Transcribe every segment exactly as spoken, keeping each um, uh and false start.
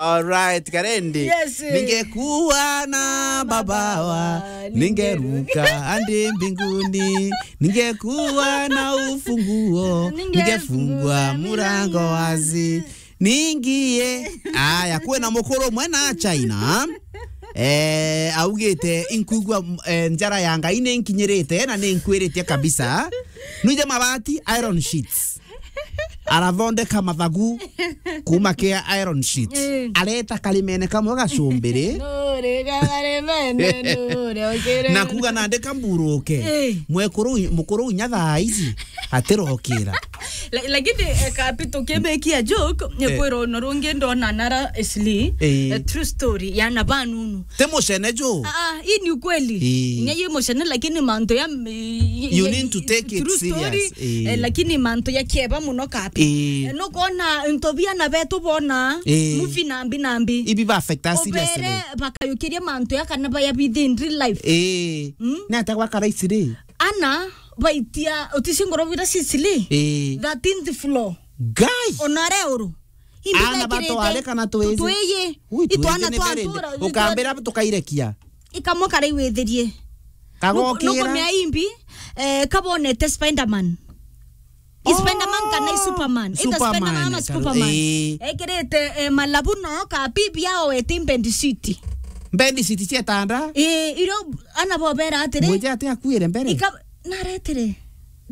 Alright, Karendi. Yes. Ningekuwa na mabawa, ningeruka hadi mbinguni. Ningekuwa na ufunguo, ningefungua murango wazi. Ningie. Aya, kwina mukuru umwe na China. Eh, augite, "Inkwigua, eh, njara ya Ngai ni nkinyirite na ni nkwiritie kabisa." Nwije mabati, iron sheets. Arathondeka mathagu kuma kia iron sheets. Eh. Areta karimene kamwe gacumbiri. Nure, karimene, nure, okire. Na kuga nandi kamburuke. Eh. Mwekuru, mukuru inya thaa ici atirokira. La-, lakini, eh, kapi tukimekia joke, eh, kwira ono rungi ndona nara Ashley, eh, eh, true story, ya na banunu. Ti mucene jo. Ah, ah, hii ni ukweli. Eh. Nya yi mucene, lakini mantu ya, y-, You y-, need to take it true story, serious. Eh. Eh, lakini mantu ya kieba muno kapi. Eh. Eh, nukwona into biana betu bona, eh, movie nambi nambi. Ibi ba affect us seriously. Ubere bakayukiria mantu ya kana baya bithi in real life. Eh. Mm? Ni atia gwakara ici ri? Ana baitia, utisi ngoro bira Sicily. Eh. Thirteenth floor. Guy. Ona re uru. Imbi ana bekirite batware kana twizi? Twiyi. Ui, itwana twizi ni twa very ntura, ukambira tukairekia. Ikamwe kara iwithirie. Kagokira. Nukumea imbi, eh, kabonete Spider-Man. Oh, Spider-Man kana i Superman? Ita Superman, Spider-Man ama kana Superman? Eh. Ekirite, eh, malabu no ka bibi yao eti bed sheet. Bed sheet cia tanda? Eh, iro ana bobera atiri. Mwije ati akuire mbere? Ika-, naretire.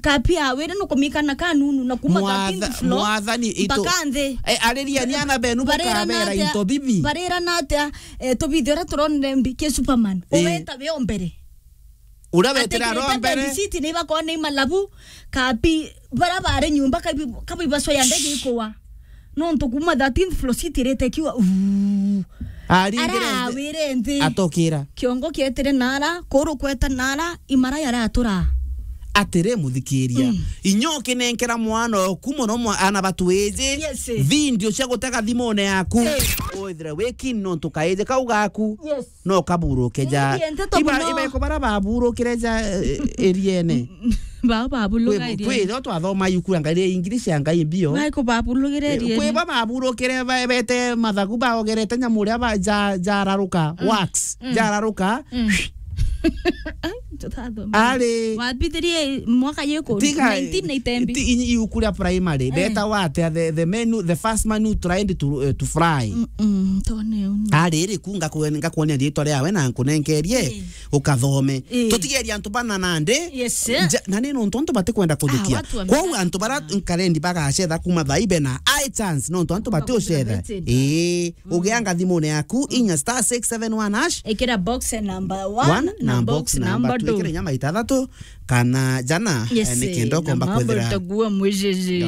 Kapi awire nukumikana kanunu na kuma Mwatha-, thirteenth floor mwathani itu-, mpaka nthi. Eh, ariria ni ana benu barira bukabera na atia, into bibi. Barira na atia, eh, tubithio ra turonire mbi ki Superman. Eh. Uweta we o mbere. Uria wetire aro mbere. Atekirite bed sheet ni bakona imalabu, kapi, bara bare nyumba kabi, kabi baso ya ndege ikuwa. Nontu kuma thirteenth floor sheet irite kiwa, uu. Aringire nthi. Arawire nthi. Atokira. Kiongo kietire nara, kuru kweta nara, imara yaratura. Atiri muthikiria. Mm. Inya ukinenkera mwana oku muno mwa-, ana batwiji. Yes. Video cia gutega thimune yaku. Eh. Withire wiki nontu kaiji kau gaku. Yes. No kaburuke ja. Ni ndeto iba, muno. Iba iko bara baburukire ja, eh, eriene. Ba, babuluga kwi, eriene. Kwi ro twathoma yuku ya Ngai, English ya Ngai mbio. Ba iko babulugire eriene. Kwi ba baburukire ba, bete mathagu baogerete nyamu ria ba, ja, jararuka, mm, wax, mm, jararuka. Mm. Ai, tutathoma. Ari. Wabithirie mwaka yiko tiga, nineteen ninety mbi. Ti, iuku ria primary. Eh. Beta wate the, the menu, the first man who tried to, eh, to fry. Mm, mm, tone unu. Ari ri kunga kwen-, ngakuonia ritwa riawe na nkunenkerie, eh, ukathome. Eh. Tutigeria antu bana nandi. Yes, sir. Ja-, na ni nontu antu batikwenda kuthikia. Ah, watu wame- Kwou antu bara nkarendi bagacetha kuma thaibe na high chance nontu antu batiucetha. Bakuthikia. Ii, mm, ugianga thimune yaku, inya star six seven one hash. Ikira box number one, one na na box box number number two. Ikira inya maita athatu, kana jana, yes, eh, ni kenda na ukomba mambo kwithira utakuwa mwejeje.